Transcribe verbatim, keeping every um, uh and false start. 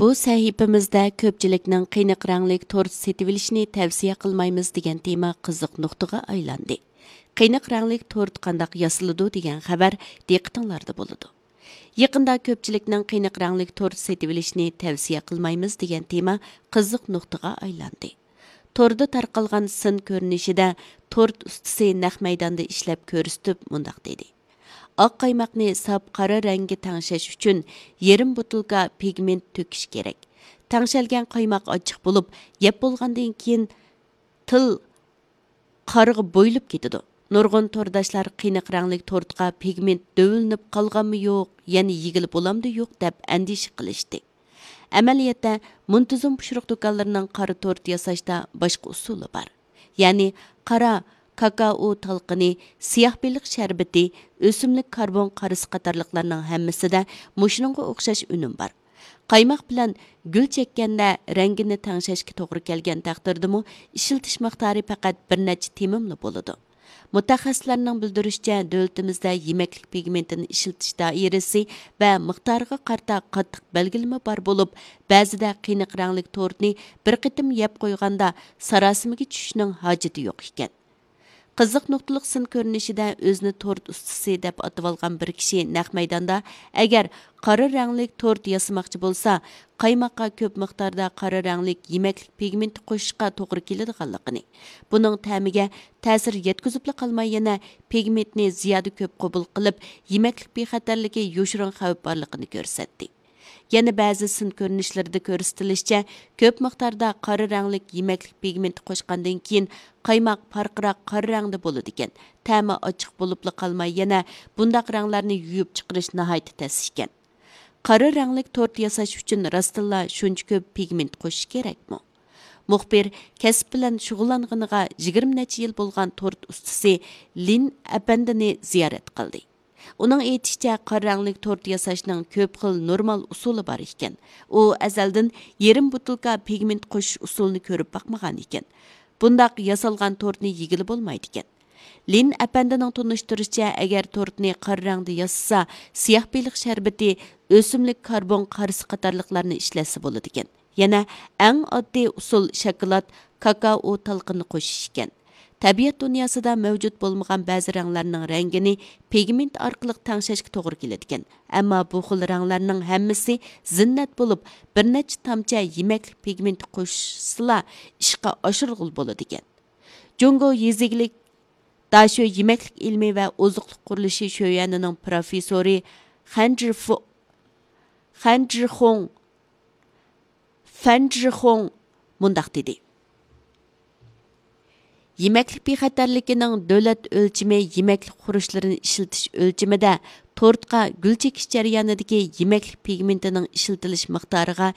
بۇ سەھىپىمىزدە كۆپچىلىكنىڭ قېنىق رەڭلىك تورت سېتىۋېلىشنى تەۋسىيە قىلمايمىز دېگەن تېما قىزىق نۇقتىغا ئايلاندى. قېنىق رەڭلىك تورت قانداق ياسىلىدۇ دېگەن خەۋەر دىققىتىڭلاردا بولىدۇ. يېقىندا كۆپچىلىكنىڭ قېنىق رەڭلىك تورت سېتىۋېلىشنى تەۋسىيە قىلمايمىز دېگەن تېما قىزىق نۇقتىغا ئايلاندى. توردا تارقالغان سىن كۆرۈنۈشىدە تورت ئۇستىسى نەق مەيداندا ئىشلەپ كۆرسىتىپ مۇنداق دېدى: ئاق قايماقنى ساپ قارا رەڭگە تەڭشەش ئۈچۈن يېرىم بوتۇلكا پىگمېنت تۆكۈش كېرەك. تەڭشەلگەن قايماق ئاچچىق بولۇپ، يەپ بولغاندىن كېيىن تىل قارىغا بويىلىپ كېتىدۇ. نۇرغۇن تورداشلار قېنىق رەڭلىك تورتقا پىگمېنت دۆۋىلىنىپ قالغانمۇ يوق، يەنە يېگىلى بولامدۇ يوق دەپ ئەندىشە قىلىشتى. ئەمەلىيەتتە، مۇنتىزىم پۇشۇرۇق دۇكانلىرىنىڭ قارا تورت ياساشتا باشقا ئۇسۇلى بار. يەنى قارا كاكائو تالقىنى، سىياھ بېلىق شەربىتى، ئۆسۈملۈك كاربون قارىسى قاتارلىقلارنىڭ ھەممىسىدە مۇشۇنىڭغا ئوخشاش ئۈنۈم بار. قايماق بىلەن گۈل چەككەندە رەڭگىنى تەڭشەشكە توغرا كەلگەن تەقدىردىمۇ، ئىشلىتىش مىقدارى پەقەت بىر نەچچە تېمىملا بولىدۇ. مۇتەخەسسىسلەرنىڭ بىلدۈرۈشىچە، دۆلىتىمىزدە يېمەكلىك پىگمېنتىنى ئىشلىتىش دائىرىسى ۋە مىقدارىغا قارىتا قاتتىق بەلگىلىمە بار بولۇپ، بەزىدە قېنىق رەڭلىك تورتنى بىر قېتىم يەپ قويغاندا ساراسىمىگە چۈشۈشنىڭ ھاجىتى يوق ئىكەن. قىزىق نۇقتىلىق سىن كۆرۈنۈشىدە ئۆزىنى تورت ئۇستىسى دەپ ئاتىۋالغان بىر كىشى نەق مەيداندا، ئەگەر قارا رەڭلىك تورت ياسىماقچى بولسا، قايماققا كۆپ مىقداردا قارا رەڭلىك يېمەكلىك پىگمېنتى قوشۇشقا توغرا كېلىدىغانلىقىنى، بۇنىڭ تەمىگە تەسىر يەتكۈزۈپلا قالماي، يەنە پىگمېنتنى زىيادە كۆپ قوبۇل قىلىپ، يېمەكلىك بىخەتەرلىكى يوشۇرۇن خەۋپ بارلىقىنى كۆرسەتتى. يەنە بەزى سىن كۆرۈنۈشلىرىدە كۆرسىتىلىشىچە، كۆپ مىقداردا قارا رەڭلىك يېمەكلىك پىگمېنتى قوشقاندىن كېيىن، قايماق پارقىراق قارا رەڭدە بولىدىكەن. تەمى ئاچچىق بولۇپلا قالماي، يەنە بۇنداق رەڭلەرنى يۇيۇپ چىقىرىش ناھايىتى تەس ئىكەن. قارا رەڭلىك تورت ياساش ئۈچۈن راستتىنلا شۇنچە كۆپ پىگمېنت قوشۇش كېرەكمۇ؟ مۇخبىر كەسىپ بىلەن شۇغۇللانغىنىغا يىگىرمە نەچچە يىل بولغان تورت ئۇستىسى لىن ئەپەندىنى زىيارەت قىلدى. ئۇنىڭ ئېيتىشىچە، قارا رەڭلىك تورت ياساشنىڭ كۆپ خىل نورمال ئۇسۇلى بار ئىكەن. ئۇ ئەزەلدىن يېرىم بوتۇلكا پىگمېنت قوشۇش ئۇسۇلىنى كۆرۈپ باقمىغان ئىكەن. بۇنداق ياسالغان تورتنى يېگىلى بولمايدىكەن. لىن ئەپەندىنىڭ تونۇشتۇرۇشىچە، ئەگەر تورتنى قارا رەڭدە ياسىسا، سىياھ بېلىق شەربىتى، ئۆسۈملۈك كاربون قارىسى قاتارلىقلارنى ئىشلەتسە بولىدىكەن. يەنە ئەڭ ئاددىي ئۇسۇل شاكىلات، كاكائو تالقىنى قوشۇش ئىكەن. تەبىئەت دۇنياسىدا مەۋجۇت بولمىغان بەزى رەڭلەرنىڭ رەڭگىنى پىگمېنت ئارقىلىق تەڭشەشكە توغرا كېلىدىكەن. ئەمما بۇ خىل رەڭلەرنىڭ ھەممىسى زىننەت بولۇپ، بىر نەچچە تامچە يېمەكلىك پىگمېنتى قوشسىلا ئىشقا ئاشۇرغىلى بولىدىكەن. جۇڭگو يېزا ئىگىلىك داشۆ يېمەكلىك ئىلمى ۋە ئوزۇقلۇق قۇرۇلۇشى شۆيۈەنىنىڭ پروفېسسورى خەن جىفۇ-، خەن جىخۇڭ، فەن جىخۇڭ مۇنداق دېدى: يېمەكلىك بىخەتەرلىكىنىڭ دۆلەت ئۆلچىمى يېمەكلىك خۇرۇچلىرىنى ئىشلىتىش ئۆلچىمىدە تورتقا گۈل چېكىش جەريانىدىكى يېمەكلىك پىگمېنتىنىڭ ئىشلىتىلىش مىقدارىغا